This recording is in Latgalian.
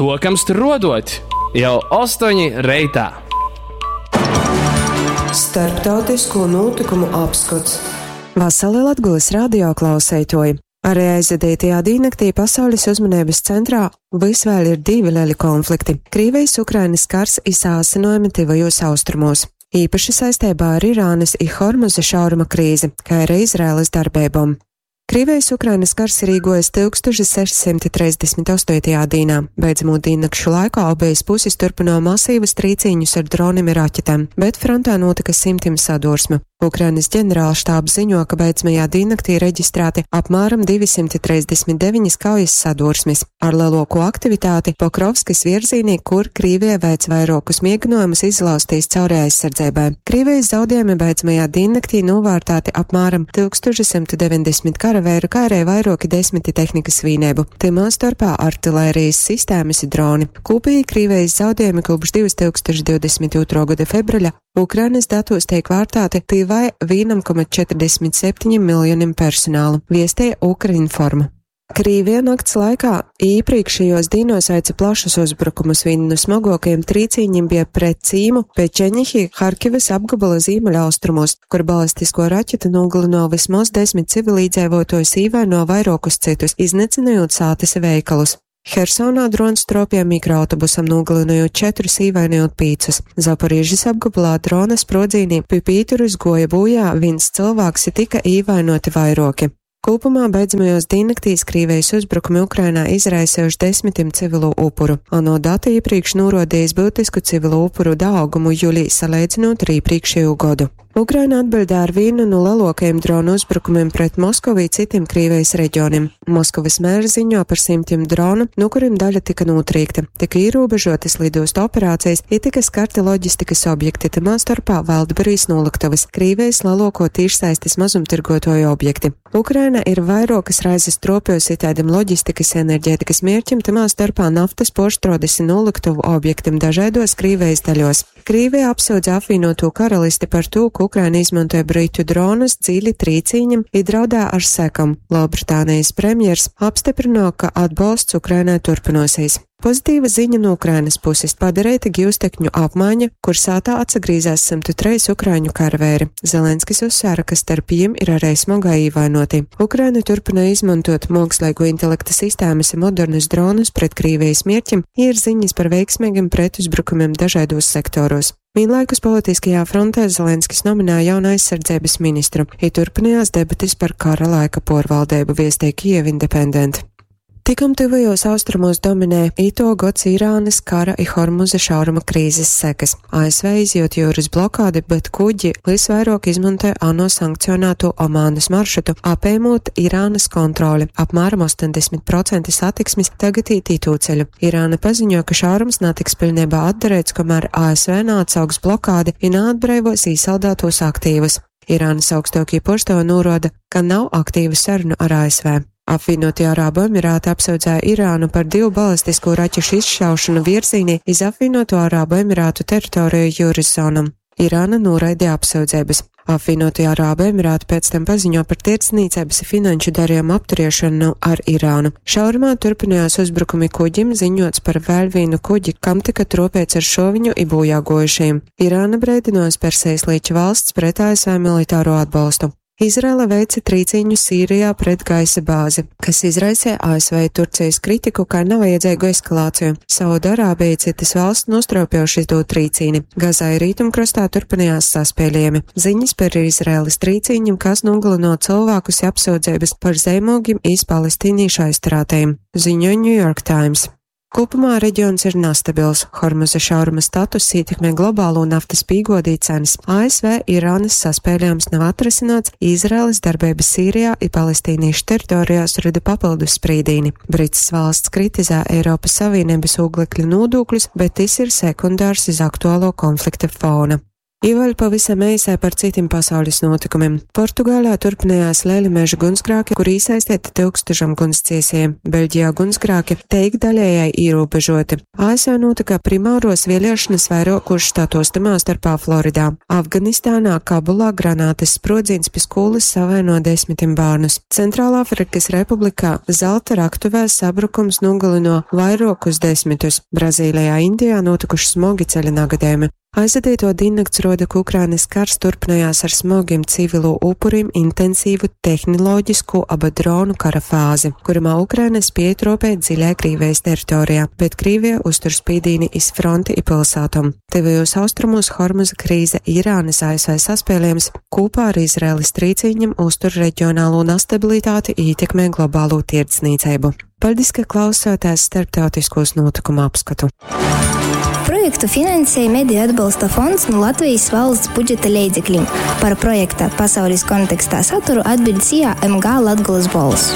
Sokam struodot jau 8 reitā. Starptautisko nūtykumu apskots. Vasali Latgolys radio klauseituoji! Ari aizvadeitajā dīnnaktī pasaulis uzmaneibys centrā vys vēļ ir divi leli konflikti - Krīvejis-Ukrainys kars i saasynuojumi Tyvajūs Austrumūs. Īpaši saisteibā ar Irānys i Hormuza šauruma krīzi, kai ari Izraelys darbeibom. Krīvejis-Ukrainys kars ir īguojis 1638. dīnā. Beidzamū dīnnakšu laikā obejas pusis turpynuoja masīvus trīcīņus ar dronim i raķetēm, bet frontē nūtyka simtim sadursmu. Ukrainys ģenerālštābs ziņo, ka beidzamajā dīnnaktī reģistrēti apmēram 239 kaujas sadursmis, ar leluokū aktivitāti Pokrovskys virzīnī, kur Krīvija veic vairuokus mieginuojumus izlauztīs cauri aizsardzeibai. Krīvijas zaudējumi beidzamajā dīnnaktī novārtāti apmēram 1190 karaveiru, kā arī vairuoki desmiti tehnikas vīneibu, tymā storpā artilērijas sistēmas i droni. Kūpīgi Krīvijas zaudējumi kopš 2022. gada februļa Ukrainas datos teik vārtāti tyvai 1,47 miljonim personālu, viestēja Ukrinform. Krīvija nakts laikā īpriekšējos dīnos veica plašus uzbrukumus. Viena no smagākajiem trīcīņiem bija pret cīmu Pečeņihi Harkivas apgabala ziemeļaustrumos, kur balistisko raķetu nogalino vismaz 10 civilīdzēvotojus īvaino vairokus citus, iznicinājot sātis veikalus. Hersonā drons tropīja mikroautobusam, nogalinojot četrus, īvainojot pīcus. Zaporīžas apgabalā drona sprodzīnī pie pīturus goja bojā viens cilvēks i tika īvainoti vairoki. Kopumā beidzamajos dīnnaktīs Krīvijas uzbrukumi Ukrainā izraisījuši desmitim civilu upuru. ANO dati iepriekš norodījis būtisku civilu upuru daugumu jūlijā salīdzinot ar iepriekšējo godu. Ukraina atbildēja ar vienu no lielākajiem dronu uzbrukumiem pret Moskovu i citiem Krīvijas reģioniem. Moskovas mērs ziņo par simtiem dronu, no kuriem daļa tika notrīkta. Tika ierobežotas lidostu operācijas, i tika skarti loģistikas objekti, tamā starpā Valdberijas noliktavas, Krīvijas lielāko tīšsaistes mazumtirgotoju objekti. Ukraina ir vairokas raizes tropjusi tādiem loģistikas enerģētikas mērķim, tamā starpā naftas porštrodes i noliktavu objektiem dažādos Krīvijas daļos. Krīvija apsūdz apvienoto karalisti par to, ka Ukraina izmantoja britu dronus dziļi trīcīņam i draudā ar sekam. Lielbritānijas premjers apstiprino, ka atbalsts Ukrainai turpinosies. Pozitīva ziņa no Ukrainas puses padarīta gūstekņu apmaiņa, kur sātā atsagrīzās 103 ukraiņu karavēri. Zelenskis uzsvēra, ka starp jiem ir arī smagā īvainoti. Ukraina turpina izmantot mākslīgo intelekta sistēmas un modernus dronus pret Krīvijas mierķim, ir ziņas par veiksmīgiem pretuzbrukumiem dažādos sektoros. Vienlaikus politiskajā frontē Zelenskis nominēja jaunu aizsardzības ministru, ja turpinājās debatis par kara laika porvaldību, viestīja Kiev Independent. Tikom tuvajos austrumos dominē ito gods Irānas kara i Hormuza šauruma krīzes sekas. ASV izjūt jūras blokādi, bet kuģi visvairāk izmantoja ANO sankcionēto Omānas maršrutu, apējot Irānas kontroli. Apmēram 80% satiksmes tagad īt itū ceļu. Irāna paziņo, ka šaurums netiks pilnībā atdarīts, kamēr ASV neatsauks blokādi i neatbreivos īsaldētos aktīvus. Irānas augstākie porstovi norāda, ka nav aktīvu sarunu ar ASV. Apvienotie Arābu Emirāti apsūdzēja Irānu par divu balistisko raķešu izšaušanu virzīnī iz Apvienoto Arābu Emirātu teritoriju jūras zonam. Irāna noraidīja apsūdzības. Apvienotie Arābu Emirāti pēc tam paziņo par tirdzniecības i finanšu darījumu apturiešanu ar Irānu. Šaurumā turpinājās uzbrukumi kuģim, ziņots par vēl vienu kuģi, kam tika tropēts ar šoviņu i bojā gojušajiem. Irāna breidinojas Persejas līča valsts pret ASV militāro atbalstu. Izraela veica trīcīņu Sīrijā pret gaisa bāzi, kas izraisīja ASV Turcijas kritiku kā nevajadzīgu eskalāciju. Saudarābija citas valsts nostraupjoši izdot trīcīni. Gazā i rietumkrastā turpinājās saspēlējumi. Ziņas par Izraēlas trīcīņiem, kas nogalino cilvēkus, i apsūdzības par zīmogiem iz palestīniešu aizturētajiem, ziņo New York Times. Kopumā reģions ir nastabils. Hormuza šauruma status ietekmē globālo naftas pīgodī cenas. ASV Irānas saspēlējums nav atrisināts, Izraēlas darbība Sīrijā i palestīniešu teritorijās rada papildus sprīdīni. Brits valsts kritizē Eiropas Savienības oglekļa nodokļus, bet tas ir sekundārs iz aktuālo konflikta fona. I vēļ pavisam eisai par cytim pasaulis nūtykumim. Portugālē turpinājās lieli meža gunsgrāki, kur īsaisteiti tyukstušam gunsciesēju. Beļģijā gunsgrāki teik daļējai ierobežoti. ASV notika primāros vēlēšanas vairākos štatos, tamā starpā Floridā. Afganistānā, Kabulā granātas sprodziens pie skolas savaino desmitiem bērnus. Centrālāfrikas Republikā zelta raktuvēs sabrukums nogalino vairākus desmitus. Brazīlijā, Indijā notikuši smogi ceļa nagadējumi. Aizvadīto diennakts roda, ka Ukrainas kars turpinājās ar smogiem civilo upurim intensīvu tehnoloģisku aba dronu kara fāzi, kurumā Ukraina spēja tropēt dziļai Krīvijas teritorijā, bet Krīvija uztur spīdīni iz fronti i pilsētom. Tuvajos austrumos Hormuza krīze Irānas ASV saspēlējums kopā ar Izraēlas trīcīņiem uztur reģionālo nestabilitāti ietekmē globālo tirdzniecību. Paldies, ka klausāties starptautiskos notikumu apskatu. Projektu finansēja Mediju atbalsta fonds no Latvijas valsts budžeta leidzekļiem. Par projekta pasaules kontekstā saturu atbild SIA MG Latgulas bols.